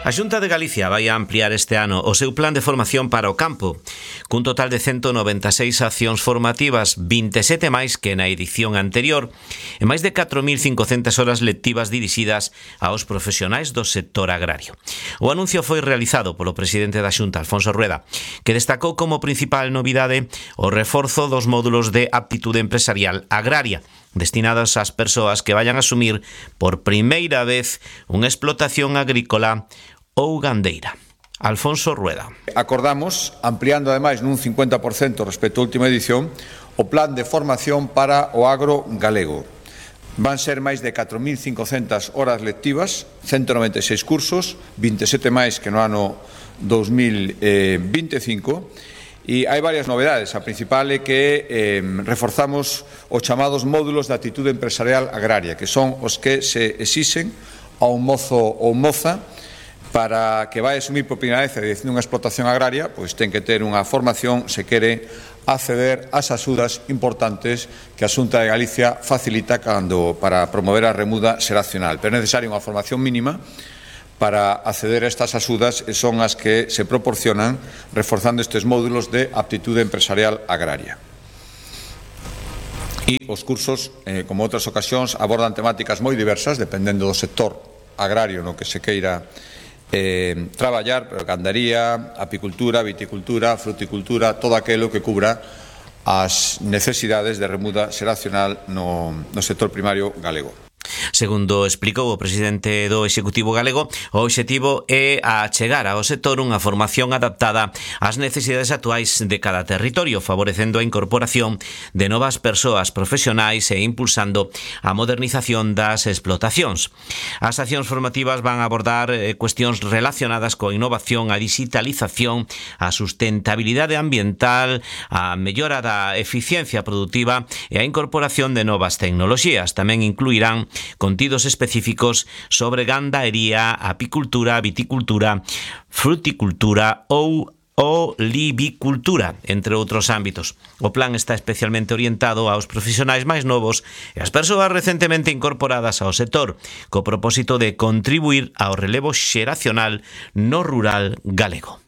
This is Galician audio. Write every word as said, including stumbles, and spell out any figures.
A Xunta de Galicia vai a ampliar este ano o seu plan de formación para o campo, cun total de ciento noventa e seis accións formativas, vinte e sete máis que na edición anterior, e máis de catro mil cincocentas horas lectivas dirixidas aos profesionais do sector agrario. O anuncio foi realizado polo presidente da Xunta, Alfonso Rueda, que destacou como principal novidade o reforzo dos módulos de aptitude empresarial agraria, destinados ás persoas que vayan a asumir por primeira vez unha explotación agrícola ou gandeira. Alfonso Rueda. Acordamos, ampliando ademais nun cincuenta por cento respecto á última edición, o plan de formación para o agro galego. Van ser máis de catro mil cincocentas horas lectivas, ciento noventa e seis cursos, vinte e sete máis que no ano dos mil vinte e cinco, e hai varias novedades. A principal é que eh, reforzamos os chamados módulos de actitude empresarial agraria, que son os que se exixen a un mozo ou moza para que vai asumir por primeira vez a dirección dunha explotación agraria, pois ten que ter unha formación se quere acceder ás axudas importantes que a Xunta de Galicia facilita cando, para promover a remuda xeracional. Pero é necesaria unha formación mínima para acceder a estas axudas, e son as que se proporcionan reforzando estes módulos de aptitude empresarial agraria. E os cursos, eh, como outras ocasións, abordan temáticas moi diversas, dependendo do sector agrario no que se queira eh, traballar, pero gandaría, apicultura, viticultura, fruticultura, todo aquilo que cubra as necesidades de remuda xeracional no, no sector primario galego. Segundo explicou o presidente do Executivo galego, o obxectivo é achegar ao sector unha formación adaptada ás necesidades actuais de cada territorio, favorecendo a incorporación de novas persoas profesionais e impulsando a modernización das explotacións. As accións formativas van a abordar cuestións relacionadas coa innovación, a digitalización, a sustentabilidade ambiental, a mellora da eficiencia produtiva e a incorporación de novas tecnoloxías. Tamén incluirán contidos específicos sobre gandaería, apicultura, viticultura, fruticultura ou olivicultura, entre outros ámbitos. O plan está especialmente orientado aos profesionais máis novos e ás persoas recentemente incorporadas ao sector, co propósito de contribuir ao relevo xeracional no rural galego.